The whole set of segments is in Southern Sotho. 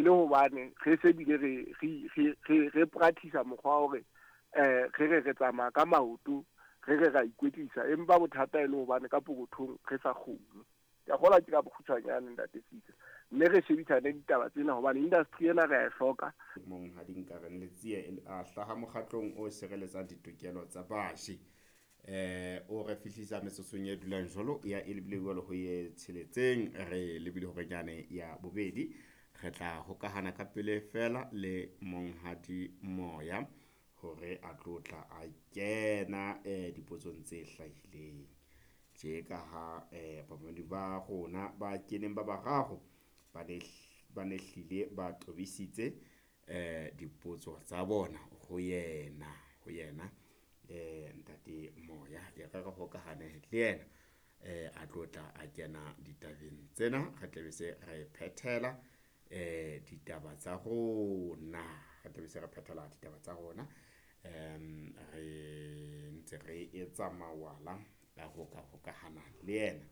le hobane re se bile re practice mokgwa wa hore re tsamaya ka maoto, re re ra ikwetlisa, empa bothata e le hobane ka pokothong re sa kgone. Ke a kgolwa ke ka bokgutshwanyane, Ntate Sisa, mme re shebisane ditaba tsena hobane industry ena re a e hloka. Monghadi Nkareng Letsie a hlaha mokgatlong o sireletsang ditokelo tsa baji. O re fihlisa metsotsong e dulang jwalo ya e lebile jwalo ho ye tsheletseng, re lebile horenyane ya bobedi. Re tla hokahana ka pele fela le Monghadi Moya hore a tlo tla a kena dipotsong tse hlahileng. Tje ka ha bamamedi ba rona ba keneng ba bararo ba ne hlile ba tobisitse dipotso tsa bona ho yena, ho yena Ntate Moya. E re re hokahane le yena a tlo tla a kena ditabeng tsena, re tla be se re phethela ditaba tsa rona, re tla be se re phethela ditaba tsa rona. Re ntse re etsa mawala a ho ka hokahana le yena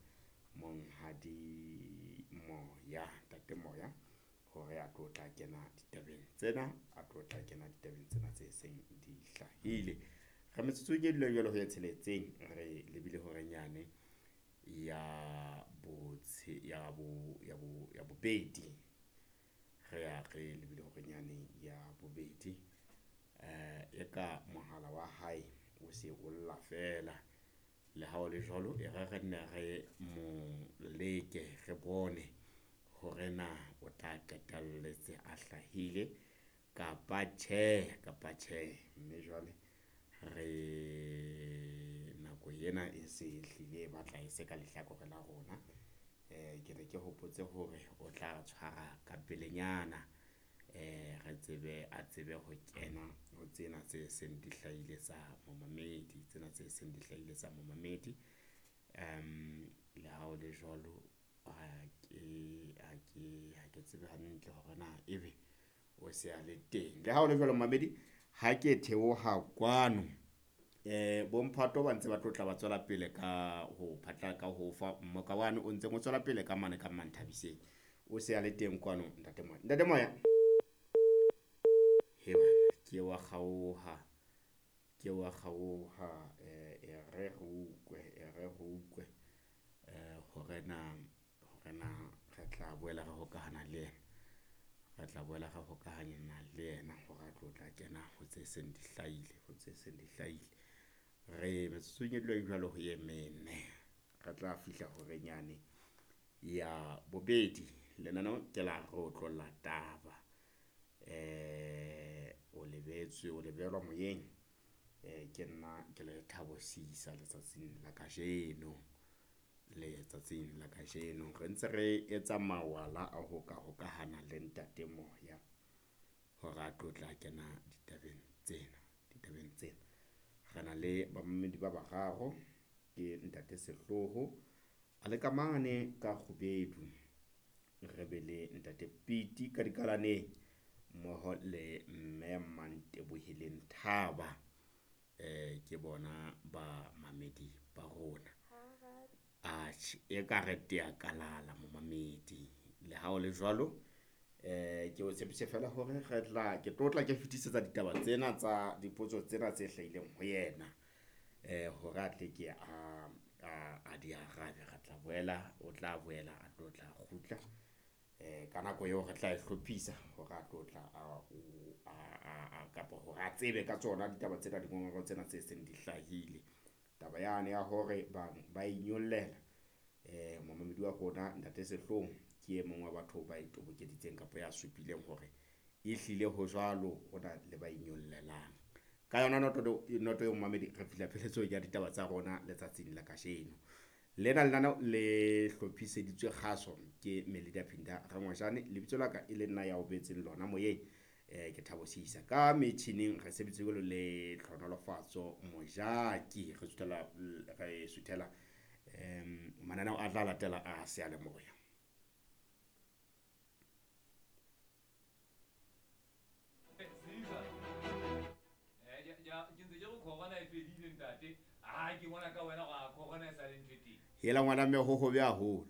Monghadi Moya, Ntate Moya, hore a tlo tla kena ditabeng tsena, a tlo tla kena ditabeng tsena tse seng di hlahile. Re metsotsong e dulang jwalo ho ya tsheletseng, re lebile horenyane ya botshe ya bo ya bo ya bobedi. Re ya re lebile horenyane ya bobedi. E ka mohala wa hae o se o lla fela. Le ha o le jwalo, e re re nne re mo leke, re bone hore na o tla qetelletse a hlahile kapa tjhe, kapa tjhe. Mme jwale re nako ena e se hlile e batla e se ka lehlakore la rona. Ke ne ke hopotse hore o tla tshwara ka pelenyana, re tsebe a tsebe ho kena ho tsena tse seng di hlahile tsa momamedi, tsena tse seng di hlahile tsa momamedi. Le ha o le jwalo, ha ke tsebe hantle hore na ebe o se a le teng. Le ha o le jwalo momamedi, ha ke theoha kwano bomphato ba ntse ba tlo tla ba tswela pele ka ho phatla ka ho fa mmoka wane o ntseng o tswela pele ka mane ka Manthabiseng. O se a le teng kwano Ntate Moya. Ntate Moya, he bana, ke wa kgaoha, ke wa kgaoha. E re re utlwe, e re re utlwe hore na re tla boela re hokahana le yena. Re tla boela re hokahana le yena hore a tlo tla kena ho tse seng di hlahile, ho tse seng di hlahile. Re metsotsong e dulang jwalo ho ye mene, re tla fihla horenyane ya bobedi. Lenaneo ke la re otlolla taba. O lebetswe, o lebelwa moyeng. Ke nna ke le Thabo Seisa letsatsing la kajeno, letsatsing la kajeno re ntse re etsa mawala a ho ka hokahana le Ntate Moya hore a tlo tla kena ditabeng tsena, ditabeng tsena. Re na le bamamedi ba bararo, ke Ntate Sehloho a le ka mane ka Kgubedu, re be le Ntate Piti ka Dikalaneng mmoho le Mme Manteboheleng Thaba. Ke bona ba mamedi ba rona. Atjhe, e ka re tea kalala momamedi. Le ha o le jwalo, ke o tshepise fela hore re tla ke tlo tla ke fetisetsa ditaba tsena tsa dipotso tsena tse hlahileng ho yena, hore a tle ke a di arabe. Re tla boela, o tla boela a tlo tla kgutla ka nako eo re tla e hlophisa hore a tlo tla a kapa hore a tsebe ka tsona ditaba tsena, dingongoreo tsena tse seng di hlahile. Taba yane ya hore bang ba inyollela, momamedi wa rona Ntate Sehloho ke e mong wa batho ba e tobokeditseng kapa ya supileng hore e hlile ho jwalo, ho na le ba inyollelang. Ka yona noto noto eo momamedi, re fihla pheletsong ya ditaba tsa rona letsatsing la kajeno. Lena lenaneo le hlophiseditswe kgaso ke Melida Phinda Rangwajane. Lebitso la ka e le nna ya o betseng lona moyeng, ke Thabo Seisa. Ka metjhining re sebeditse jwalo le Tlhonolofatso Mojaki. Re suthela, re suthela mananeo a tla latela a seyalemoya. Hela ngwana mme ho hobe haholo.